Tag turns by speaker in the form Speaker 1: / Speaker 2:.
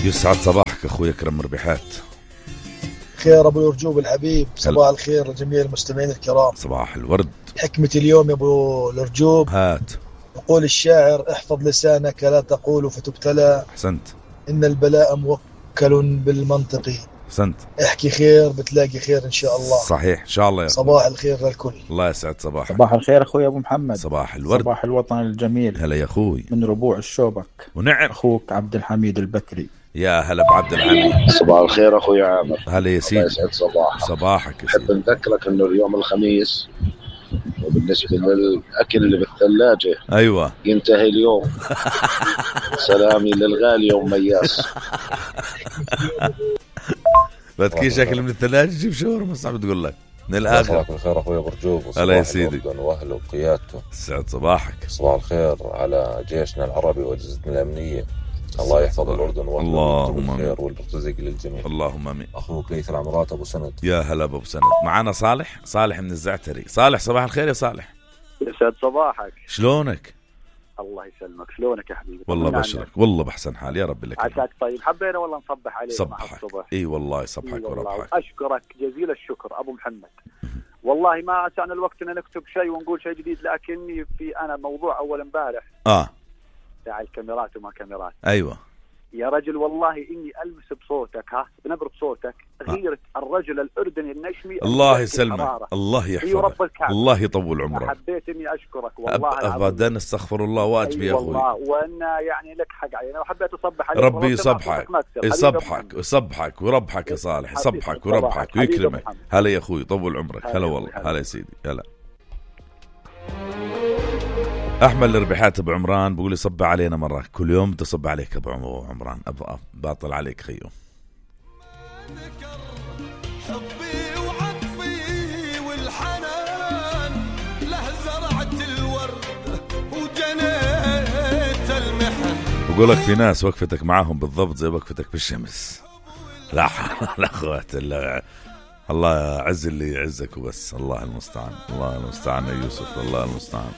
Speaker 1: يسعد صباحك أخوي أكرم ربيحات.
Speaker 2: خير أبو الرجوب الحبيب، صباح الخير لجميع المستمعين الكرام.
Speaker 1: صباح الورد.
Speaker 2: حكمة اليوم يا أبو الرجوب،
Speaker 1: هات.
Speaker 2: يقول الشاعر: احفظ لسانك لا تقول فتبتلى.
Speaker 1: أحسنت.
Speaker 2: إن البلاء موكل بالمنطق.
Speaker 1: أحسنت.
Speaker 2: احكي خير بتلاقي خير إن شاء الله.
Speaker 1: صحيح إن شاء الله يا
Speaker 2: صباح الخير للكل.
Speaker 1: الله يسعد صباحك.
Speaker 3: صباح الخير أخوي أبو محمد.
Speaker 1: صباح الورد.
Speaker 3: صباح الوطن الجميل.
Speaker 1: هلا يا أخوي
Speaker 3: من ربوع الشوبك.
Speaker 1: ونعم.
Speaker 3: أخوك عبد الحميد البكري.
Speaker 1: يا هلا بعبد الحميد.
Speaker 4: صباح الخير أخوي عامر.
Speaker 1: هلا يا سيدي.
Speaker 4: الله يسعد صباحك.
Speaker 1: صباحك يا
Speaker 4: أحب
Speaker 1: سيدي.
Speaker 4: نذكرك إنه اليوم الخميس، وبالنسبة للأكل اللي بالثلاجة
Speaker 1: أيوة
Speaker 4: ينتهي اليوم. سلامي للغالي يوم مياس.
Speaker 1: بتكيش أكل من الثلاجة جيب شاورما صعب تقول لك من الآخر.
Speaker 5: صباح الخير أخوي برجوب.
Speaker 1: هلا يا سيدي.
Speaker 5: وأهله وقيادته.
Speaker 1: سعد صباحك.
Speaker 5: صباح الخير على جيشنا العربي وأجهزتنا الأمنية. الله يحفظ الأردن وأهله.
Speaker 1: اللهم
Speaker 5: الخير والرزق للجميع.
Speaker 1: اللهم آمين.
Speaker 5: أخوك ليث العمرات أبو سند.
Speaker 1: يا هلا أبو سند. معنا صالح من الزعتري. صالح صباح الخير يا صالح.
Speaker 6: يسعد صباحك.
Speaker 1: شلونك؟
Speaker 6: الله يسلمك. شلونك يا حبيبي؟
Speaker 1: والله بشرك والله بحسن حال يا رب لك.
Speaker 6: عساك طيب. حبينا والله نصبح عليك.
Speaker 1: صبحك. اي والله يصبحك وربحك.
Speaker 6: اشكرك جزيل الشكر ابو محمد. والله ما سعنا الوقت ان نكتب شيء ونقول شيء جديد، لكني في انا موضوع اول امبارح تاع الكاميرات وما كاميرات.
Speaker 1: ايوه
Speaker 6: يا رجل والله اني المس بصوتك بنبرة صوتك غيرت الرجل الاردني النشمي.
Speaker 1: الله يسلمك. الله يحفظك. الله يطول عمرك.
Speaker 6: حبيت اني اشكرك والله
Speaker 1: ابدا. استغفر الله واجبي يا اخوي.
Speaker 6: والله وانا يعني لك حق علي. انا حبيت اصبح عليك.
Speaker 1: ربي يصبحك وربحك يا صالح. يصبحك وربحك ويكرمك. هلا يا اخوي طول عمرك. هلا والله. هلا يا سيدي. هلا. احمد الربيحات ابو عمران بقول لي صب علينا مره كل يوم تصب عليك ابو عمران. باطل عليك خيو.
Speaker 7: حبي وعطفي والحنان له زرعت الورد وجنيت المحن.
Speaker 1: بقول لك في ناس وقفتك معاهم بالضبط زي وقفتك بالشمس. لا اخوات الله عز اللي يعزك وبس. الله المستعان. الله المستعان يا يوسف. الله المستعان.